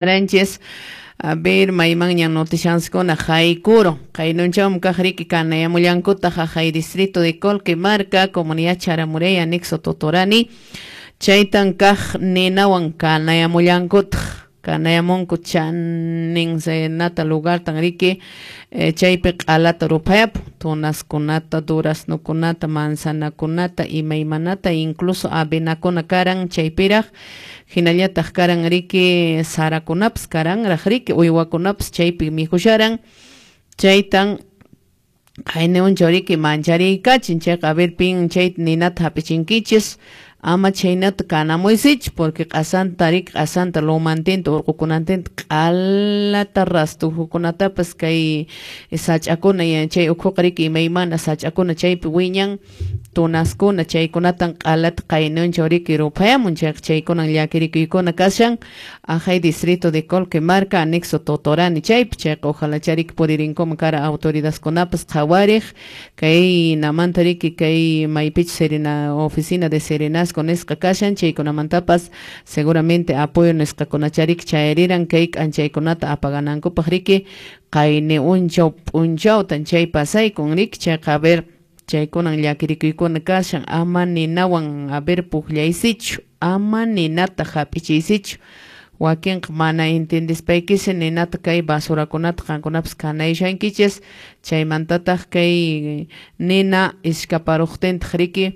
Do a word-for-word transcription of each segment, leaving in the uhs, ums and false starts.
Ranches a ver maymanña noticianskuna haykuro qaynunchawmi kaq riki kanayamullankutaq haqay distrito de Colquemarca, comunidad Charamurey, anexo Totorani, chaytan kaq ninawan kanayamullankutaq kanayamunku chanin nata lugartan riki eh, chaypi q'alata ruphayapun tunaskunata, duraznokunata, manzanakunata, imaymanata, incluso avenakuna karan chaypiraq hinallataq karan riki sarakunapas karanraq riki uywakunapas chaypi mikhusharan chaytan qayniunchaw riki mancharikachin chayqa a ver pin chay ninata hap'ichinkichis ama chaynata kanamuysichu porque q'asanta riki q'asanta lumantinta urqukunantinta q'alata rastujukunatapas kay sach'akuna chay ukhuqa riki imaymana sach'akuna chaypi wiñan tunaskuna chaykunatan q'alata qaynunchaw riki ruphayamun chayqa chaykunan llakirikuykuna kashan aqhay distrito de Colquemarca, anexo Totorani chaypi chayqa ojalá chariki puririnkuman kara autoridadkunapas qhawariq kay namanta riki kay maypichus serena oficina de serenazgo nisqa kashan chaykunamantapas seguramente apoyo nisqakunachariki chayariran kay k'anchaykunata apaganankupaq riki qayni unchaw p'unchawtan chay pasaykun riki chayqa a ver chaykunan llakirikuykuna kashan ama ninawan a ver puqllaysichu ama ninata hap'ichiysichu wakinqa mana entendispaykisi ninata kay basurakunata qankunapas kanayshankichis chaymantataq kay nina iskaparuqtintaq riki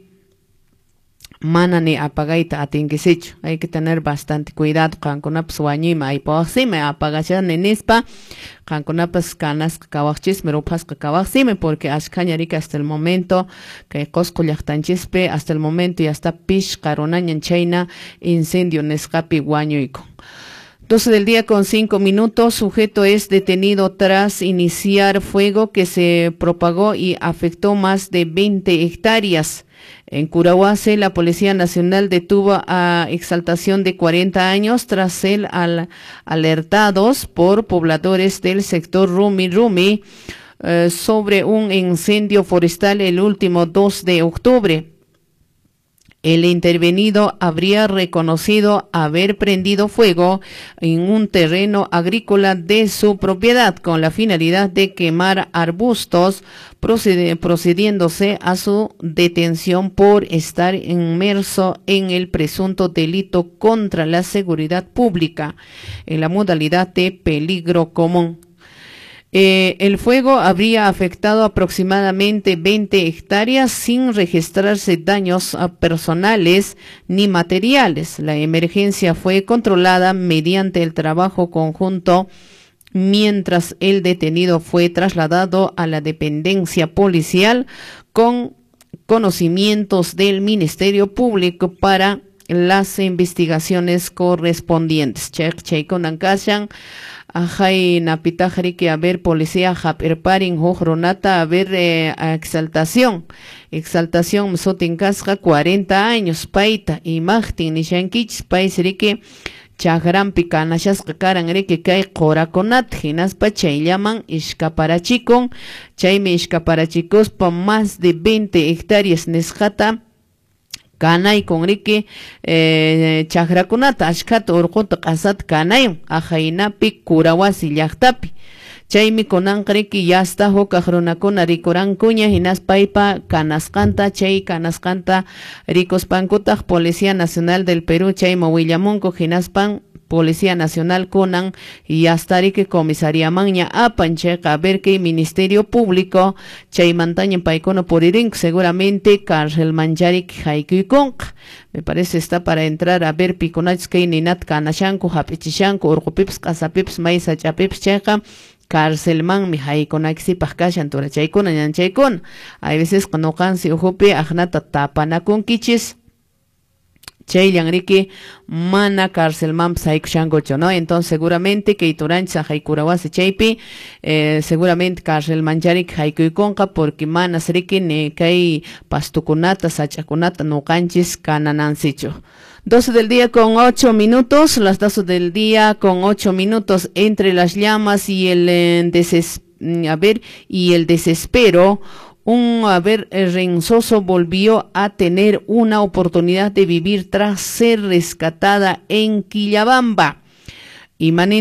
mana ni apagayta atinkisichu hay que tener bastante cuidado qankunapas wañuyman aypawaqsimi apagashani nispa qankunapas kanasqa kawaqchismi ruphasqa kawaqsimi porque ashkhaña riki hasta el momento kay Qosqo llaqtanchispi hasta el momento ya está pishqa runañan chayna incendio nisqapi wañuykun. doce del día con cinco minutos, sujeto es detenido tras iniciar fuego que se propagó y afectó más de veinte hectáreas. En Curahuasi, la Policía Nacional detuvo a Exaltación de cuarenta años tras ser al, alertados por pobladores del sector Rumi Rumi eh, sobre un incendio forestal el último dos de octubre. El intervenido habría reconocido haber prendido fuego en un terreno agrícola de su propiedad con la finalidad de quemar arbustos, proced- procediéndose a su detención por estar inmerso en el presunto delito contra la seguridad pública en la modalidad de peligro común. Eh, el fuego habría afectado aproximadamente veinte hectáreas sin registrarse daños personales ni materiales. La emergencia fue controlada mediante el trabajo conjunto mientras el detenido fue trasladado a la dependencia policial con conocimientos del Ministerio Público para las investigaciones correspondientes. Chaykunan kashan ajay napitaq riki a ver policía hap'irparin huk runata a ver eh, Exaltación Exaltación sutin kasqa cuarenta años payta imaqtin nishankichis paysi riki chakranpi kanashasqa karan riki kay qurakunata hinaspa chayllaman ishkaparachikun chaymi ishkaparachikuspa más de veinte hectáreas nisqata kanaykun riki eh, chakrakunata ashkhata urquta q'asata kanayun aqhaynapi Curahuasi llaqtapi chaymi kunanqa riki yasta hukaq runakuna rikurankuña hinaspa paypa kanasqanta chay kanasqanta rikuspankutaq Policía Nacional del Perú chayman willamunku hinaspan Policía Nacional kunan yasta riki comisariamanña apan chayqa a ver kay Ministerio Público chaymantaña paykuna puririnku seguramente carcelmancharik haykuykunqa me parece está para entrar a ver pikunachus kay ninata kanashanku hap'ichishanku urqupipas q'asapipas may sach'apipas chayqa carcelmanmi haykunaykisipaq kashan turachaykuna ñanchaykuna hay veces nuqansi ukhupi aqnata tapanakunkichis chayllan riki mana carcelmanpas haykushankuchu, ¿no? Entonces seguramente kay turanchis aqhay Curahuasi chaypi eh, seguramente carcelmancharik haykuykunqa porque manas riki ni kay pastukunata sach'akunata nuqanchis kananansichu. doce del día con ocho minutos, las doce del día con ocho minutos entre las llamas y el eh, deses, a ver, y el desespero. Un, a ver, Renzoso volvió a tener una oportunidad de vivir tras ser rescatada en Quillabamba. Imanin